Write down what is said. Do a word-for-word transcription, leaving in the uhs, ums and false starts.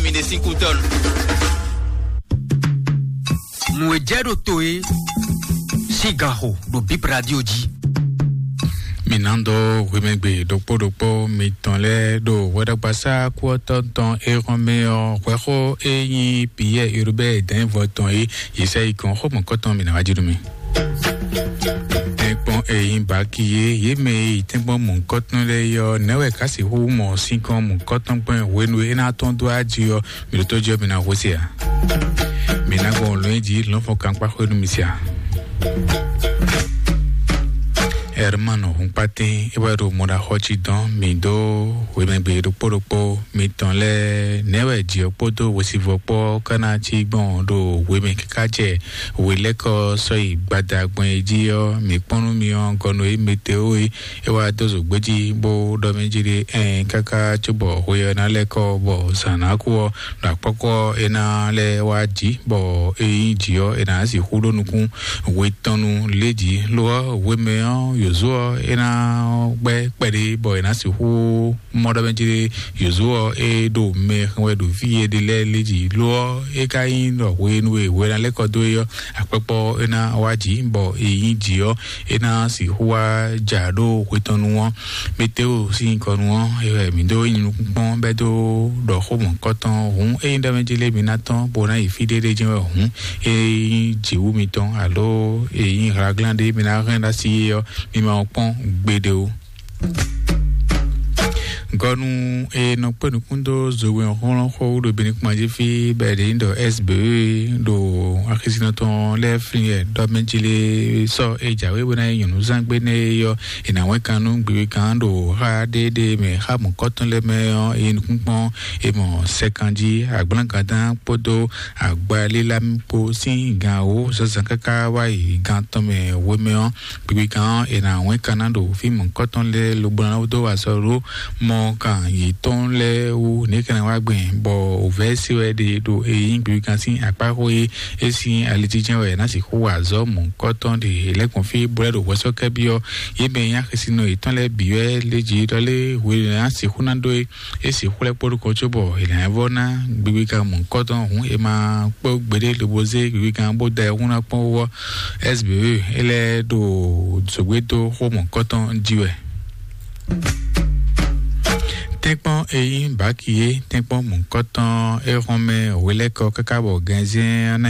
Mi ɖe sín kútɔ́ nu. Nǔ e jɛ ɖo to e sín gan xo ɖo Bib Radio jí. Mi ná dó hwemɛgbe ɖokpó ɖokpó mitɔn lɛ́ɛ ɖo hwɛɖagbasá kú ɔ́ tɔn tɔn e hɔn mɛ ɔ́, hwɛxó e nyí Piyɛ́ɛ Urubɛ́ɛ dɛ̌nvɔ tɔn e yě sɛ yi gɔ̌n xó mɔ̌kɔtɔn mi ná wá jí nú mi. Tɛ́nkpɔ́n e nyí Baki e yě mɛ e yi tɛ́nkpɔ́n mɔ̌kɔtɔn lɛ́ɛ é ɔ́, nɛ̌ wɛ ká sixú mɔ sinkɔn mɔ̌kɔtɔn gbɔn hwenu e é ná tɔ́n dó aji ɔ́, mi ɖo tó jí ɔ́, mi ná hwesí ǎ. Mi ná gbɔn lɔ̌n jí lɔ̌nfɔ́n kankpá xwé nú mi sia. Hermano Hunkpatín é wɛ ɖo mɔɖaxɔ cí dɔn mi dó hwemɛgbe ɖokpó ɖokpó mitɔn lɛ́ɛ, nɛ̌ wɛ jǐ ɔ́ kpódó hwesivɔ́ kpó ɔ́ ká ná cí gbɔn ɖo hwemɛ káká jɛ hwelɛ́kɔ sɔ́ yi gbada gbɔn é jí ɔ́, mǐ kpɔ́n nú mi ɔ́, gɔnu e Meteo e é wá dó zǒgbé jí bó ɖɔ mɛ jí ɖé ɛn káká cóbɔ hwe ɔ́ ná lɛ́ kɔ bɔ zǎn ná kú ɔ́, ɖo akpɔ́kpɔ́ ɔ́ é ná lɛ́ wá jǐ, bɔ é nyí jǐ ɔ́, é ná sixú ɖó nukún hwe tɔn nu lě jí. Lo ɔ́, hwemɛ ɔ́, yǒzo ɔ́, é ná gbɛ́ kpɛɖé bɔ é ná sixú mɔ ɖɔ mɛ jí ɖé yǒzo ɔ́, é ɖo mɛ hɛn wɛ ɖo fí e ɖe lɛ́ɛ lě jí. Lo ɔ́, é ka nyí ɖɔ hwenu e hwe ná lɛ́ kɔ dó é ɔ́, akpɔ́kpɔ́ é ná wá jǐ, bɔ é nyí jǐ ɔ́, é ná sixú wá ja ɖó hwe tɔn nu ɔ́. Meteo sín nyǐkɔ nu ɔ́, é wɛ mǐ dó nyi nukúnkpɔ́n bɛ́ dó ɖɔ xó mɔ̌kɔtɔn hǔn, ényí ɖɔ mɛ jí lé mi ná tɔ́n bó ná yi fí ɖé ɖé jɛ́n wɛ hǔn, é nyí jǐwú mitɔn alo é nyí hlaglán ɖé mi ná hɛn ɖó así é ɔ́, mi ma wɔ kpɔ́n gbeɖé ó. Gɔnu e nɔ kpé nukún dó zowe ɔ́ xlɔ́n xó ɖo Benin kpɔn jí fí bɔ è ɖe nyí ɖɔ S B E ɖo axisínɔ tɔn lɛ́ɛ flín wɛ ɖɔ mɛ jí lé sɔ́ e jǎwe bó ná nyí nyɔ̌nuzán gbé nɛ́ é ɔ́, è nǎ wɛ́n kan nú gbigbigán ɖo xá ɖéɖé mɛ xá mɔ̌kɔtɔn lɛ́ɛ mɛ ɔ́, é nukúnkpɔ́n è mɔ sɛkan jí agblǎngandán kpódó agbalílámì kpó sín gan wǒ zǎnzǎn káká wá yi gan tɔn mɛ hwemɛ ɔ́, gbigbigán ɔ́, è nǎ wɛ́n ka ná ɖo fí mɔ̌kɔtɔn lɛ́ɛ lobo ná dó wa sɔ́ ɖó mɔ kan yětɔn lɛ́ɛ wú nɛ̌ ka ná wá gbɛn, bɔ wǔvɛ́ se wɛ ɖe ɖo e nyí gbigbigán sín akpá xó e é sín alijijɛ́n wɛ ná sixú wa azɔ̌ mɔ̌kɔtɔn ɖe è lɛ́ gbɔn fí bó lɛ́ ɖo hwɛsɔ́kɛ́ byɔ́ yě mɛ e nyí axisínɔ yětɔn lɛ́ɛ bǐ wɛ lé jí ɖɔ lé hwenu e ná sixú ná ɖó é, é sixú lɛ́ kpó ɖokɔ cóbɔ è nǎ vɔ́ ná gbigbigán mɔ̌kɔtɔn hǔn è ma kpó gbeɖé lobo zé gbigbigán bó da ɛ hún ná kpɔ́n wú ɔ́, S B E é lɛ́ ɖo zǒgbé dó xó mɔ̌kɔtɔn jí wɛ. Tɛ́nkpɔ́n e nyí Baki é, tɛ́nkpɔ́n mɔ̌kɔtɔn é hɔn mɛ hwelɛ́kɔ káká bɔ gɛnzɛ́n ɔ́ ná nyí